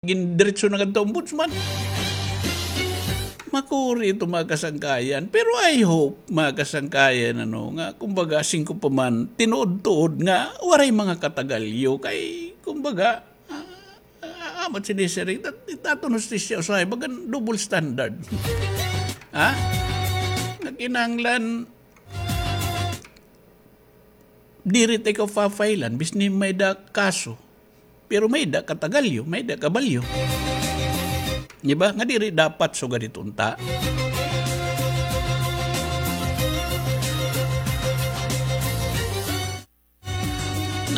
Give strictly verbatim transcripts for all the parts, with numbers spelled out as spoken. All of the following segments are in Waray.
Gindiretso na ngadto ombudsman. Makuri ito, mga kasangkayan. Pero I hope, mga kasangkayan, ano, nga, kumbaga, singko pa man, tinuod-tuod nga, waray mga katagalyo. Kay, kumbaga, ah, ah, amat sinisiring, tat-, itaton hustisya, usahay, bagan double standard. Ha? Nga kinahanglan, diri ta ikaw papailan, bisni may-ada kaso. Pero may-ada katagalyo, may-ada kabalyo. Di ba? Nga diri dapat sugad ito unta.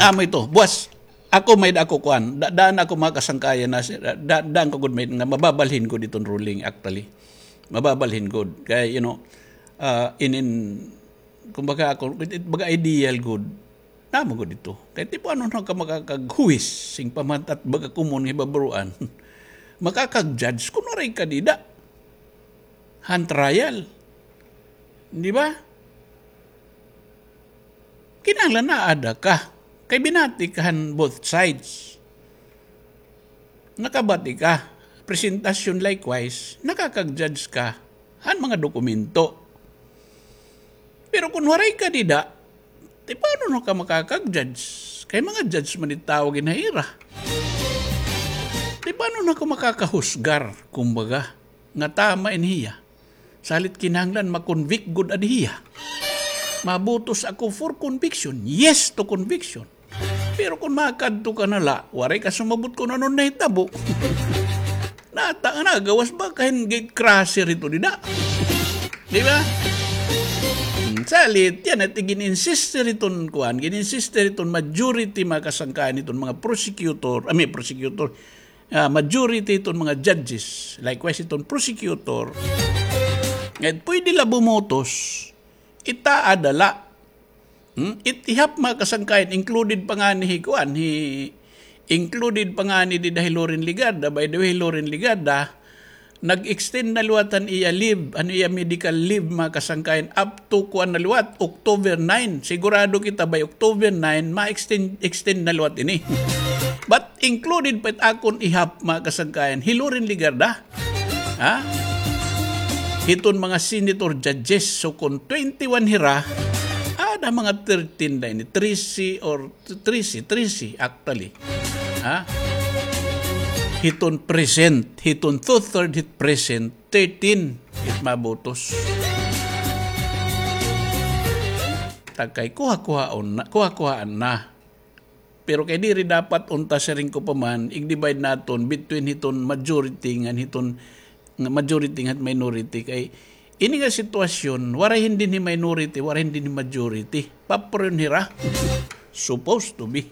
Amo ito, buwas, ako may-ada ako kuan, da-, daan ako mga kasangkayan na, da-, daan ko gud may-ada nga mababalhin gud iton ruling, actually. Mababalhin gud. Kay, you know, ah, inin, kumbaga ako, it, it, baga ideal gud. Namo gud ito. Kay tipanon na ka makakaghuwis, sing pamatat baga komon nga hibabaroan. Makakag-judge, kun waray ka dida. Han trial. Di ba? Kinahanglan naada ka. Kay binati ka han both sides. Nakabati ka. Presentasyon likewise, nakakag-judge ka han mga dokumento. Pero kun waray ka dida, ti paano na ka makakag-judge? Kay mga judge man it tawag ini ha ira. Ti paano na ka makakahusgar, kumbaga, nga tama ini hiya? Salit kinahanglan ma-convict gud adi hiya. Mabutos ako for conviction. Yes to conviction. Pero kun makadto ka na la, waray ka sumabot kun ano nahitabo. Nata-, nagawas ba ka hin gatecrasher ito dida? Di ba? Hmm, salit, yana it gin-insiste hiton kuan, gin-insiste hiton majority, mga kasangkayan, hiton mga prosecutor, I mean, prosecutor, ah, majority hiton mga judges, likewise hiton prosecutor, nga pwede la bumotos, itaada la. Hmm? It ihap, mga kasangkayan, included pa ngani hi kuan, hi, included pa ngani dida hi Loren Legarda. By the way, Loren Legarda, nag-extend na liwat an iya leave, an iya medical leave, mga kasangkayan, up to kuan na liwat, October nine. Sigurado kita by October nine, ma-extend, extend na liwat ini. But included pa it akon ihap, mga kasangkayan, hi Loren Legarda. Ha? Hiton mga senator judges, so kun twenty-one hira, ada mga thirteen na ini, trese or trese, trese actually. Ha? Hiton present, hiton two-third hit present, thirteen it mabutos. Takay kuha-kuhaon na, kuha-kuhaan na. Pero kay diri dapat unta siring ko pa man, i-divide naton between hiton majority ngan hiton, nga majority ngan minority. Kay ini nga sitwasyon, waray hin dinhi minority, waray hin dinhi majority. Papriyon hira. Supposed to be.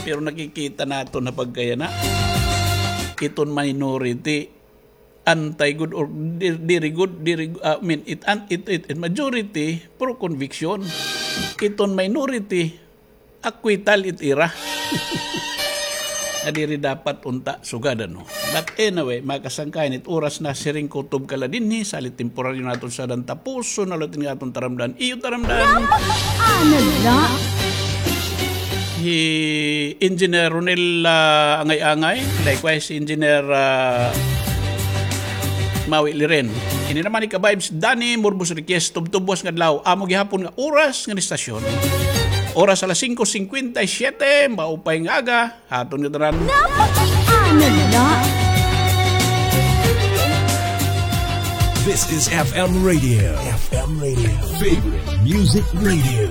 Pero nakikita naton ha pagkayana, iton minority, anti gud or di-, diri gud, diri, ah, I mean, it, an-, it, it, it majority pro conviction. Iton minority, acquittal it ira. Nga diri dapat unta sugadan, no? But anyway, mga kasangkayan, it oras na siring kutob ka la dinhi, salit temporaryo naton sadan, tapuson na liwat ini nga aton taramdan. Iyo taramdan. Ano la? Hi Engineer Ronel, ah, Angay-Angay, likewise Engineer, ah, Maui Liren. Ini naman ika-vibes, Danny Morbos Request, tubtob buwas nga adlaw, amo gihapon nga oras ngan istasyon. Oras alas singko singkwenta y siyete, maupay nga aga ha aton ngatanan. Napakaano na? This is F M Radio. F M Radio. Favorite Music Radio.